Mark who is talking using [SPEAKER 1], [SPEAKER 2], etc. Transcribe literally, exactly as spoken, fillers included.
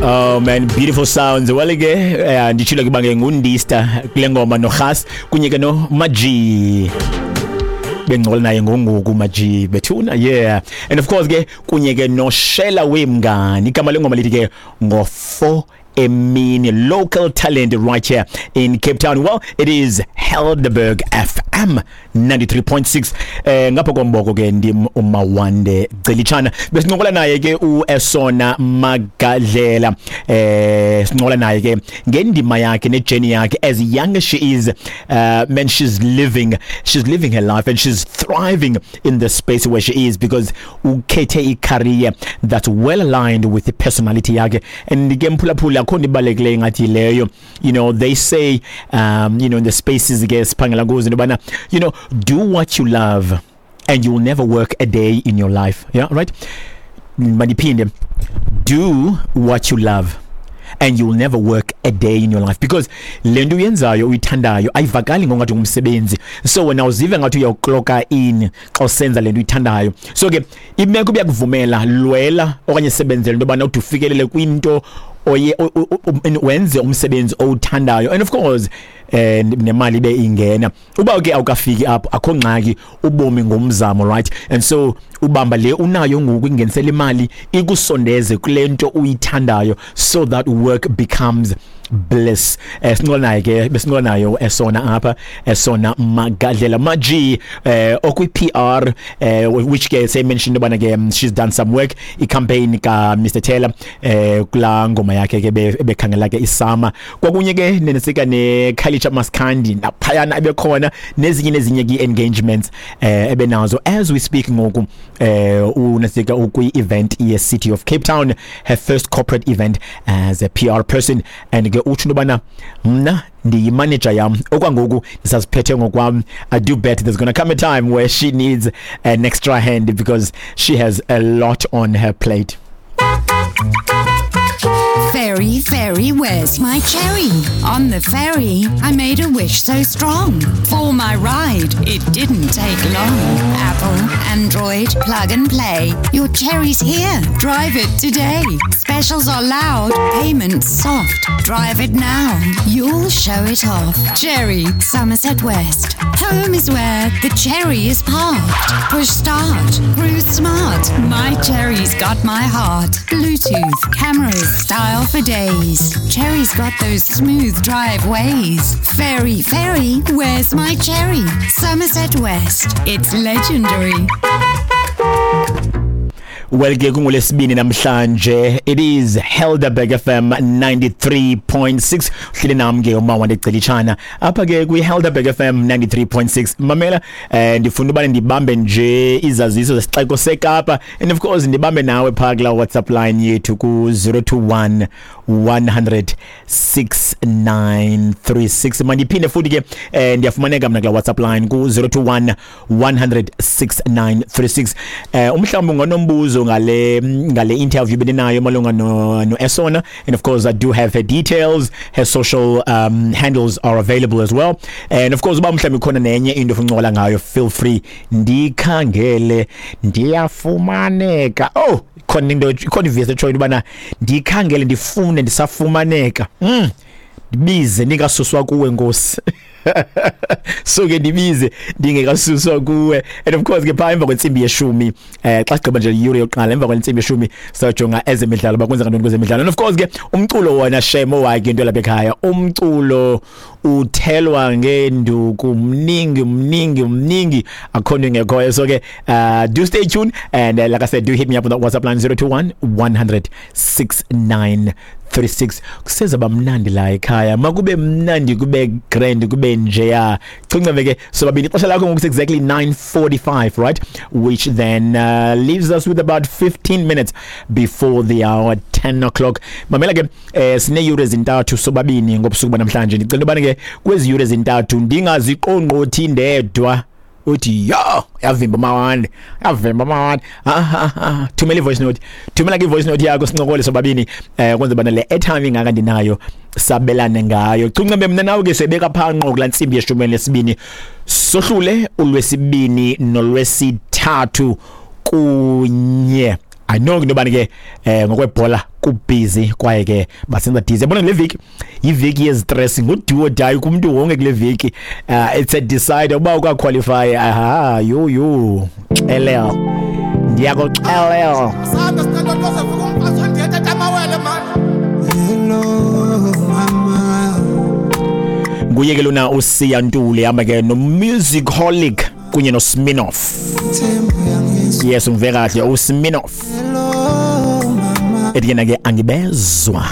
[SPEAKER 1] Oh man, beautiful sounds. Well ke eh, nditshilo ke bange ngundista kule ngoma noRhas kunye ke no Maji. Bengcola naye ngongoku Maji bethuna, yeah. And of course ke kunye ke no Shela Wemngani. Igama lengoma lithi ke ngo four emini, local talent right here in Cape Town. Well, it is Helderberg F M ninety-three point six. Eh ngapha komboko ke ndim uMawande Gcelitshana. Besincokola naye ke uEsona Magadlela. Eh sincokola naye ke ngendima yakhe nejourney yakhe. As young as she is, uh man, she's living she's living her life and she's thriving in the space where she is because ukhethe i-career that's well aligned with the personality yakhe. And ke mphulaphula, akho nto ibalulekileyo ngathi leyo. you know they say, um you know in the spaces ke siphangela kuzo, into yobana you know do what you love and you will never work a day in your life. Yeah, right. Mandiphinde: do what you love and you'll never work a day in your life, because le nto uyenzayo uyithandayo ayivakali ngongathi ngumsebenzi. So wena uzive ngathi uyawukloka in xa usenza le nto uyithandayo. So ke imeko ibiyakuvumela, lwela okanye sebenzela into yobana ude ufikelele kwinto oye wenze umsebenzi owuthandayo, and of course eh nemali ibe ingena. Uba ke awukafiki apho, akho ngxaki, ubomi ngumzamo, right? And so ubamba le unayo ngoku ingenisela imali, ikusondeze kule nto uyithandayo, so that work becomes bliss. eh sincokola naye ke, besincokola nayo Esona apha, Esona Magadlela Maji, eh okwi P R, eh which ke say mentioned ubana ke um, she's done some work, i campaign ka Mister Taylor, eh kula ngoma yakhe ke bekhangela ke isama, kwakunye ke nenesika ne Khayelitsha Maskandi naphayana ebekhona, nezinye nezinye ke engagements eh ebenazo. As we speak ngoku, eh unesika ukwi event ye City of Cape Town, her first corporate event as a P R person. And ke utsho into yobana mna ndiyimanager yam, okwangoku ndisaziphethe ngokwam. I do bet there's going to come a time where she needs an extra hand because she has a lot on her plate.
[SPEAKER 2] Ferry, ferry, where's my cherry? On the ferry, I made a wish so strong. For my ride, it didn't take long. Apple, Android, plug and play. Your cherry's here. Drive it today. Specials are loud, payments soft. Drive it now. You'll show it off. Cherry, Somerset West. Home is where the cherry is parked. Push start. Cruise smart. My cherry's got my heart. Bluetooth, cameras, style for days. Cherry's got those smooth drive ways. Ferry, ferry, where's my cherry? Somerset West. It's legendary.
[SPEAKER 1] Well ke kungolesibini namhlanje. It is Helderberg F M ninety-three point six. Uhleli nami ke uMawande Gcelitshana apha ke kwi Helderberg F M ninety-three point six. Mamela, eh ndifuna ubane ndibambe nje izaziso zesixeko seKapa, and of course ndibambe nawe phaa kula WhatsApp line yethu ku zero two one one hundred six nine three six. Mandiphinde futhi ke, eh ndiyafumaneka mna kula WhatsApp line ku zero two one one hundred six nine three six. eh umhlawumbe unganombuzo ngale ngale interview beninayo malunga no no Esona, and of course I do have her details. Her social um, handles are available as well. And of course uba mhlawumbe khona nenye into ofuna uncokola ngayo, feel free. Ndikhangele, ndiyafumaneka. Oh, khona into, khona ivesi etshoyo into yobana ndikhangele, ndifune ndisafumaneka, mm ndibize ndingasuswa kuwe, Nkosi. So ke ndibize ndingekasuswa kuwe. And of course ke phaa emva kwentsimbi yeshumi, eh xa sigqiba nje iyure yokuqala, emva kwentsimbi yeshumi sajonga ezemidlalo, bakwenzeka ntoni kwezemidlalo. And of course ke umculo wona shemo wakhe into lapha ekhaya, umculo uthelwa ngenduku, mningi, mningi, mningi, akho nto ingekhoyo. So ke uh, do stay tuned and uh, like I said, do hit me up on the WhatsApp line zero two one one hundred six nine three six. Kuseza bamnandi la ekhaya, makube mnandi, kube grand, kube njeya. Cincebe ke sobabini. Ixesha lakho ngoku exactly nine forty-five, right, which then uh, leaves us with about fifteen minutes before the hour ten o'clock. Mamela ke, eh sineyure ezintathu sobabini ngobusuku banamhlanje. Ndicela ubana ke kwezi yure ezintathu ndingaziqongqothi ndedwa, uthi yo, yavimba Mawande, yavimba Mawande. Ah ah ah, thumela i-voice note, thumela ke i-voice note yakho, sincokole sobabini, eh kwenza bana le airtime ingaka ndinayo sabelane ngayo. Cuncembe mina nawe ke sebeka phanqo kula ntsimbi yeshumi nesibini, sohlule ulwesibini nolwesithathu kunye. I know into yobani ke eh ngokwebhola kubhizi kwaye ke basenza dizi. Yabona le veki yiveki yezistress, ngu-do or die kumntu wonke kule veki. uh, it's a decide uba ukaqualify. Aha, yo yo xelel, ndiyakuxelel. Nguye ke lona uSiya Ntuli, hamba ke no-Musicholic kunye noSminoff. Yes, umve kahle, uSminoff ethi yena ke angibezwa.